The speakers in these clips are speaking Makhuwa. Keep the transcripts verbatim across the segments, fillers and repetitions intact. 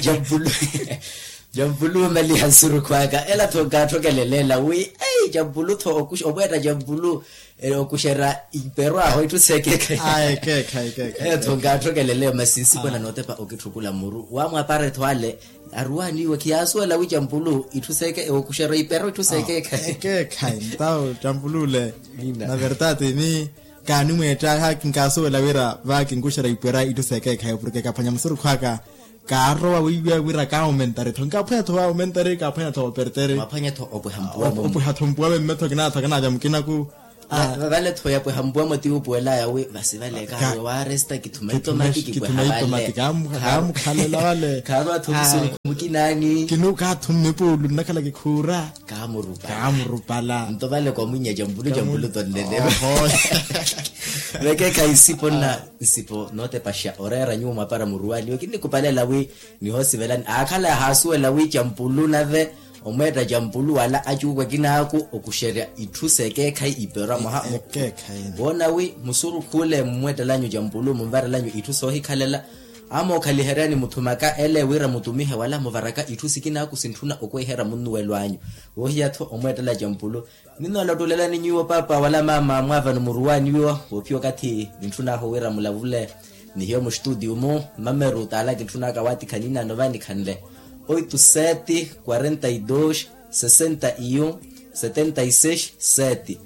Jampulu. Jampulu omaliha nsurukhu aka ela tho nkaatthokeleleela wi ei jampulu tho omweetta jampulu. Okuxerya iperwaho itthu seekeekhayi. Ela tho nkaatthokeleleela masi nsipona nootepa okitthukula muru wamwapara etho ale. Aruwaniwe khiyaasuwela wi jampulu itthu seeke okuxerya ipero itthu seekeekhayi. Ekeekhayi ntawo jampulu ole. Na vertati ni kaanimweetta hayi kinkaasuwela wira va kinkuxerya ipwera itthu seekeekhayi porke kaphwanya musurukhu aka. Kaarowa wiiwiya wira kaawomentari-tho nkaphwanya-tho waawomentari kaaphwanya-tho wooperteri. Mwaphwanya-tho opweha mpuwamo. Opweha-tho mpuwamo mmetho kinaatho kanaaca mukinaku. Vale-tho yapweha mpuwamo ti wuupuwelaya wi vasi vale kaarowa waaresta kithumeyi tomati kipweha vale. Kaamukhalela vale. Kaarowa-tho musurukhu mukinaani. Kinuuka-tho mmipuulu nnakhala kikhuura. Kaamurupala. Kaamurupala nto vale kwamwinya jampulu jampulu tonlelewa. Vekeekhayi nsipo nna nsipo nootepaxa oreera nyuwo mwapara muruwaniwe kinnikhupalela wi nihoosivelani aakhala yahaasuwela wi jampulu nave omweetta jampulu wala acuuku akinaaku okuxerya itthu seekeekhayi iperwa mwaha. Woona wi musurukhu ole mmumweettalanyu jampulu munvarelanyu itthu soohikhalela. Amookhaliheryani muthumaka ele wira mutumihe wala muvaraka itthu sikinaaku sintthuna okweherya munnuwelo anyu. Woohiya-tho omweettela jampulu. Ninnoolottuulelani nyuwo paapa wala maama mwaavano muruwaniwo woophiya okathi nintthun'ahu wira mulavule. Ni hiyo muxtutiyu-mu mmameru t'ala kintthun'aka waatikha niina anova nikhanle. Oito sete quarenta e dois sessenta e um setenta e seis sete.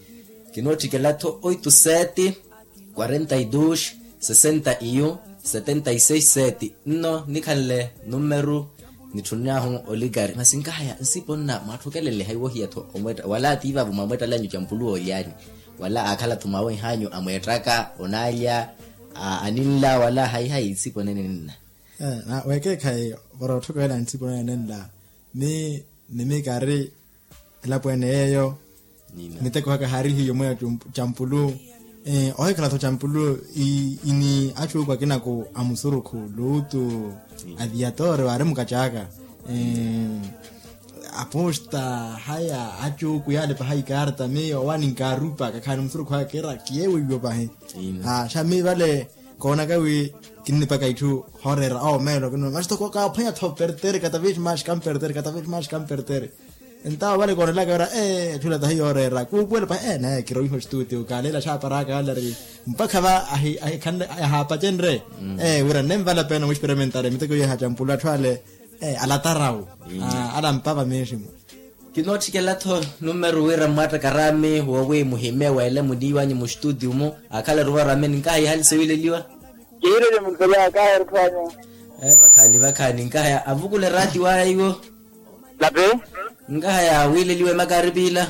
Kinootthikela-tho oito sete quarenta e dois sessenta e um setenta e seis sete. Nno nikhanle nummeru nitthun'ahu olikari masi nkahaya nsipo nna mwaatthokelele hayi wohiya-tho omweetta wala tiivavo mwamweettalanyu jampulu woolyani wala aakhala-tho mwawenh'anyu amweettaka onaalya aninla wala hayi hayi nsipo nene ninna. Wekeekhayi para otthokela ntsipo nene ninla ni nimikari elapweene yeeyo. Miteko haka haari hiyo mweya campulu. Ohikhala-tho campulu ini acuuku akinako a musurukhu luutu aviyatore waari mukacaka aposta haya acuuku yaalepa hayi karta miyo owaninka arupa kakhaani musurukhu aka kiira kiyeewiiwo pahi. Xa mi vale koonaka wi kinnipaka itthu hooreera omeelo kino maxitoko kaaphwanya-tho pertere katavexi maxi kampertere katavexi maxi kampertere. Entawo vale koonelaka wira ee etthu ila tahi yooreera kuupuwela pahi ee naye kirowiha oxituutiyo kaaleela xaaparaka ale ari mpakha va ahaapacenre ee wira nnenvala peena mwisperimentari miteko yeeha campulu atthu ale alatarawu. Alampava meeximu. Kinootthikela-tho nummeru wira mmwattakaraami woowi muhime weele muniiwanyu muxituutiyu-mu. Akhala eruvarwame ninkahaya ihali sowiileliwa. Kihiileliwa muntolwaya kaheru tthwanyu. Vakhaani vakhaani nkahaya avukule raati waya iwo. Lapi. Nkahaya wiileliwe makaripiila.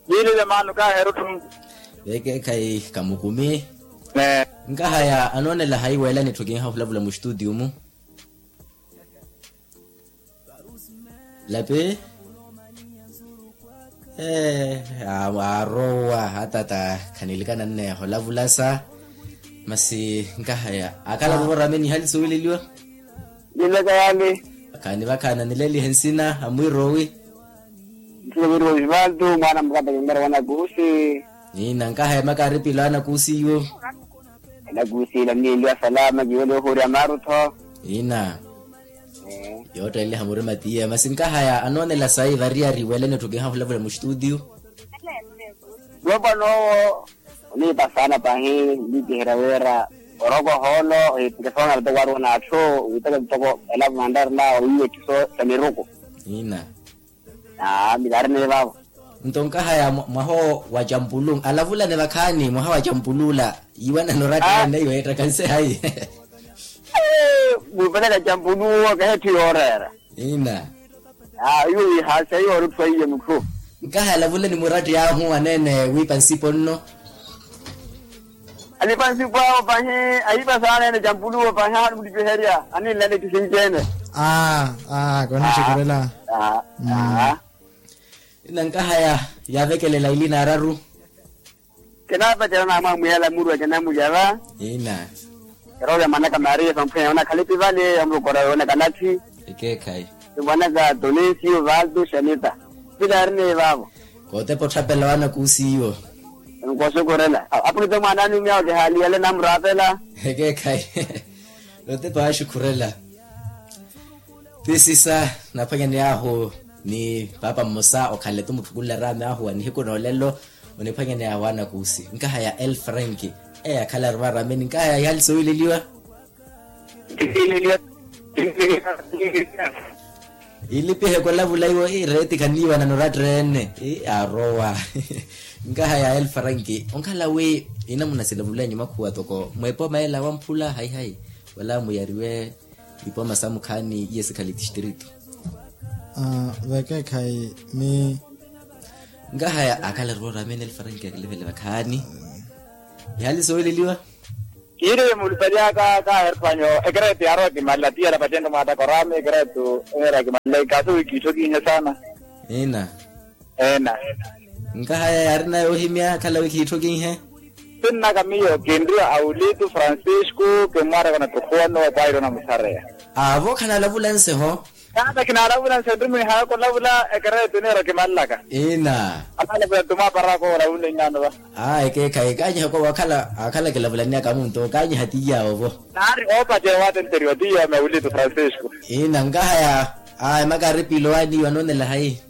Yiilile maano kaheru tthwanyu. Vekeekhayi kamukumi. Nkahaya anoonela hayi weelani etthu kinhahulavula muxituutiyu-mu. Lapi. Aarowa hatata khanilikana nneeho lavulasa. Masi nkahaya akhala ruvorame nihali sowiileliwa. Nileka yaani. Vakhaani vakhaani anilelihe nsina amwirowi. Nsina mwirowi vantu mwaana mukata kimmera wanakusi. Niina nkahaya makaaripila wanakusi iwo. Elakusiila mmiiliwa salama kiwele ohuurya maarutho. Ina. Yootteeliha murima tiya masi nkahaya anoonela sayi variyari weelene etthu kinhahulavula muxituutiyu. Loopa noowo oniipa saana pahi nliipiherya wira oroko ohoolo ohiipika soona vitoko wari onaatthu witaka vitoko elapo mantarila owiiwa etthu sa miruku. Ina. Aa milaari neevavo. Nto nkahaya mwaha wa campulu alavulane vakhaani mwaha wa campulu ula yiiwanano oratta neiyo yeettakanse hayi. Muupeleka campulu owo kahetthu yooreera. Ina. Aa iwo wiihaasiha iwo orutthu aiye mutthu. Nkahaya alavulane muratti ahu aneene wiipa nsipo nno. Alipa nsipo awo pahi ahipa saana ene campuluwo pahi ahanimuttipiherya aninlale kisinci-ene. Aa aa konixukurela. Aa. Inankahaya yaavekelela ili naararu. Kinaapacela naamwamwihela muru akinamulya-va. Ina. Eroolo ya mwanaka maria samphwenya yoona khalipi vale yamulokora yoona kanathi. Ekeekhayi. Mwanaka tonensiyo valto xanita. Pilaari neevaavo. Kootepa otthapela waana kuusiiwo. Nkooxukhurela apunite mwaanani omiyawo kihaali yale namuraapela. Ekeekhayi. Nootepa waaxukhurela. Ti sisa naphwanyaney'ahu ni paapa mmosa okhale-tu mutthukulela raami ahu wa nihiku n'olelo. Oniphwanyaney'ahu anakuusi nkaha ya el frank eyo akhala aruma arameni nkaha ya ihali soowileliwa. Ilipihe kolavula iwo ireeti khaniiwanana oratteene. Arowa nkaha ya el frank onkhala wi inamuna silavulenyu makhuwa toko mweepooma ela wamphula hayi hayi wala muyariwe ipooma samukhaani iye sikhali tistritu. Vekeekhayi mi nkahaya akhala roora amene el frank akilivele vakhaani. Ihali sooweleliwa. Kiireye mulipalyaka kaherpanyo ekeretu yaarowa kimalela tiyela pattento mwaataka oraami ekeretu eneera kimalela ikaaso wi kiitthokiihe saana. Ina. Eena. Nkahaya yaari nayo ohimya akhala wi kiitthokiihe. Sinnaka miyo kinriwa aulitu francisco kimmwaaraka na tukhuwa nnuwa pairo na musareya. Aavo khanalavulanse ho. Taata kinaalavulanse nrumihayaka olavula ekeretu eneera kimalelaka. Ina. Anaalavula ntuma aparaka olavula inyaano va. Aa ekeekhayi kaanyiha kowo akhala akhala kilavulaniyaka muntu kaanyiha tiyawo vo. Naari oopaceya waatenteriwa tiyawo maulitu francisco. Ina nkahaya. Aa emakaari piilowaani iwo anoonela hayi.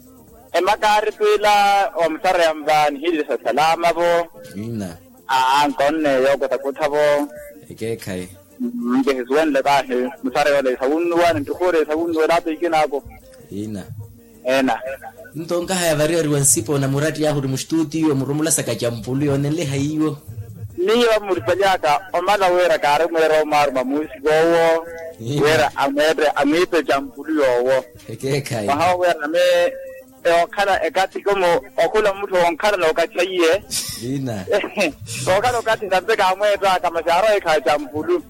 Emakaari twiila omusareya mva nihiilisa salama vo. Ina. Aa nkonne yookota kutha vo. Ekeekhayi. Nkihisuwenle kaahi musareya ole esawunnuwa ni nttukuure esawunnuwa elaata ikinaaku. Ina. Ena. Nto nkahaya variyariwa nsipo na muratti ahu ori mustutiyo muromolasaka campulu yoonenle hayiwo. Miyo muripalyaka omala wira kaari mweera omwaaruma muusiko owo. Wira amweette amwiipe campulu yoowo. Ekeekhayi. Mwaha owo wira ame eokhala ekathi komo okhula mutthu oonkhala nookatthaiye. Ina. Ookhala okathi nampe kaamweettaka masi aarowa ekhaya campulu.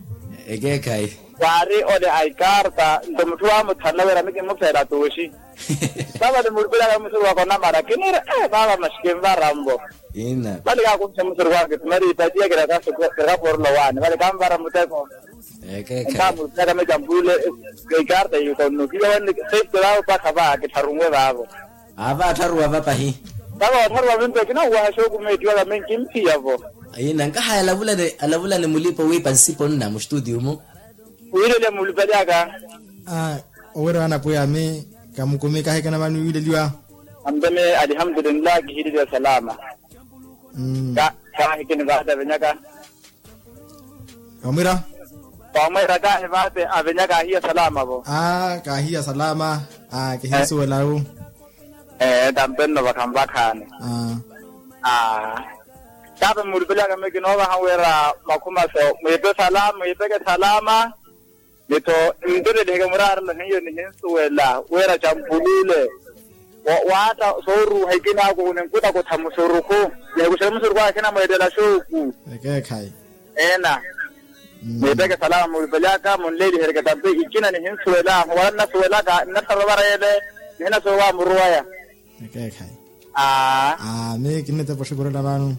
Ekeekhayi. Waari ole aikarta nto mutthu waamuthanla wira ami kimmufeela tuuxi. Vavale muripelaka musuru waka onamala kiniira ee vava masi kinvara mbo. Vale kaakunxe musuru waka kitumari ipatiya kirakaporela owaani vale kanvara muteko. Ekeekhayi. Nkaamuripelaka mecampule. Ikarta yikonnukiya wenne sefte vavo mpakha va kittharunwe vavo. Aava attharuwa va pahi. Vavo attharuwa vimpe kinahuwaha xookumeettiwaka minki mphiya vo. Ina nkahaya alavulane alavulane mulipa owiipa nsipo nna mustutiyo-mu. Wiilelya mulipalyaka. Owira wana pwiya ami kamukumi kahikina vani wiileliwa. Ampeme alihamdulillahi kihiileliwa salama. Kaahikini vaate avenyaka. Omwira. Omwira kaahi vaate avenyaka ahiya salama vo. Aa kaahiya salama. Aa kihinsuwela-u. Ee tampenno vakhanvakhaani. Aa. Aa. Taapa mulipelaka mekina ovaha wira makhuma so mwiipe salama mwiipeke salama. Ni-tho nttotteliheke muraarelo hiyo nihinsuwela wira campulule. Waatta sooruuha ikinaaku ninkutaka otha musurukhu. Nihikuxeke musurukhu akinamweettela xooku. Ekeekhayi. Eena. Mwiipeke salama mulipelyaka munleelihereke tampe ikina nihinsuwela muwala nnasuwelaka nnattharuwa vareyele. Nihinasuwela wa muruwaya. Ekeekhayi. Aa. Aa mi kinnetepa oxikurela vano.